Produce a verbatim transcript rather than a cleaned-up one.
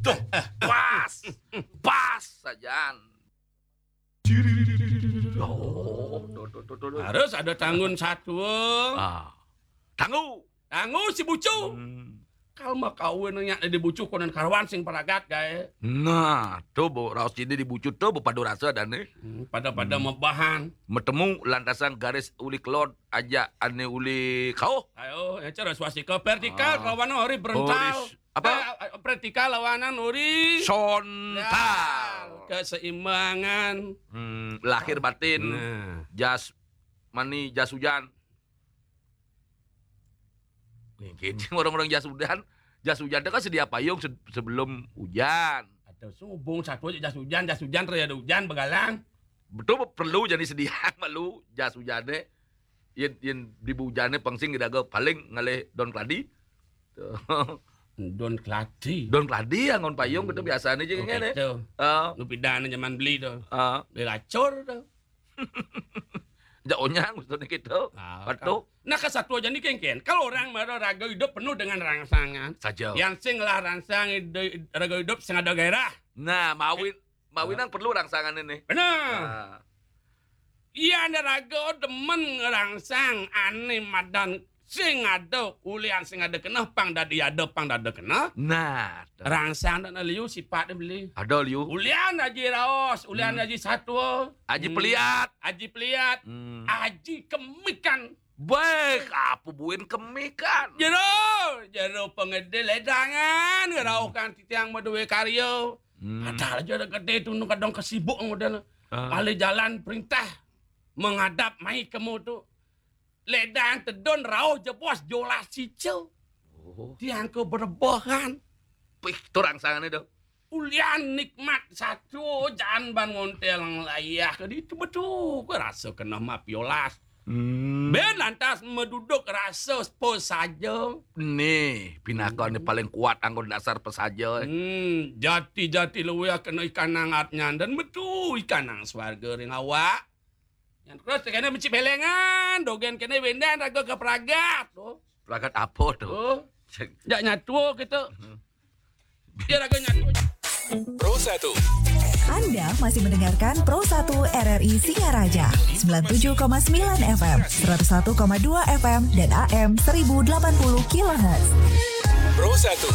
Tuh, pas. Pas saja. Oh, tuh, tuh, tuh, tuh, tuh. Harus ada tanggun satua. Ah. Tanggu. Tanggu si bucu. Hmm. Kalau mau kawin nya di bucu konon karuan sing paragat gaé. Nah, tuh, Bu, raos jadi di bucu tuh, Bu, padu rasa dan nih. Hmm, pada-pada mebahan. Metemu lantasan garis uli kelod aja ane uli kau. Ayo, ya cara swastika vertikal, ah, lawan horizontal. Horis-, apa? Eh, vertikal lawanan horizontal. Sontal. Ya, keseimbangan. Hmm, lahir batin. Nah. Jas mani, jas hujan. Mungkin orang-orang jas hujan, jas hujan itu kan sedia payung se-, sebelum hujan. Atau subung satu aja jas hujan, jas hujan terus ada hujan begalang. Betul, perlu jadi sedia malu jas hujan deh. Yen, yen di hujan deh pangsing kita ke paling ngalih daun keladi. Tuh. Daun keladi. Daun keladi yang ngon payung gitu biasanya aja. Oh, ngene. Gitu. Ah. Nu pidana zaman beli tuh. Ah. Beli lacur tuh. Jak onyang maksudnya gitu. Ah, betul. Nah, kesatuan jadi kengken. Kalau orang mara raga hidup penuh dengan rangsangan. Saja. Yang sing lah rangsang ide-, raga hidup sing ada gairah. Nah, mawin, mawin nang perlu rangsangan ini. Benar. Nah. Iya, ada raga demen ngerangsang ane madan sing ada ulian sing ada keneh pang dadi ada pang dada keneh. Nah, tuh. Rangsang dan liu sifat dia beli. Ada liu. Ulian aji raos, ulian aji satua. Aji peliat. Aji peliat. Hmm. Aji kemikan. Baik, apa buin kemikan? Jero, jero pengede ledangan, ngerauhkan titiang maduwe karya. Hmm. Padahal aja ada gede tuh, nu kadang kesibuk model. Ah. Alih jalan perintah menghadap mai kemu tuh. Ledang tedon rauh jebos jolas cicil. Oh. Tiang ke berebahan. Pih, tu rangsangan itu. Ulian nikmat satu, jangan ban ngontel layah ke ditu betul. Ku rasa kena mapiolas. Hmm. Ben lantas meduduk rasa sepo saja. Nih, pinaka ni paling kuat anggo dasar pesaja. Hmm, jati-jati luwih kena ikan nang atnyan dan metu ikan nang swarga ring awak. Yang terus kena meci belengan, dogen kena wendan raga ke pragat. Oh. Pragat apa tu? Oh. Jak nyatu gitu. Dia raga nyatu. Pro satu. Anda masih mendengarkan Pro satu R R I Singaraja, sembilan tujuh koma sembilan F M, seratus satu koma dua F M, dan A M seribu delapan puluh kilohertz. Pro satu.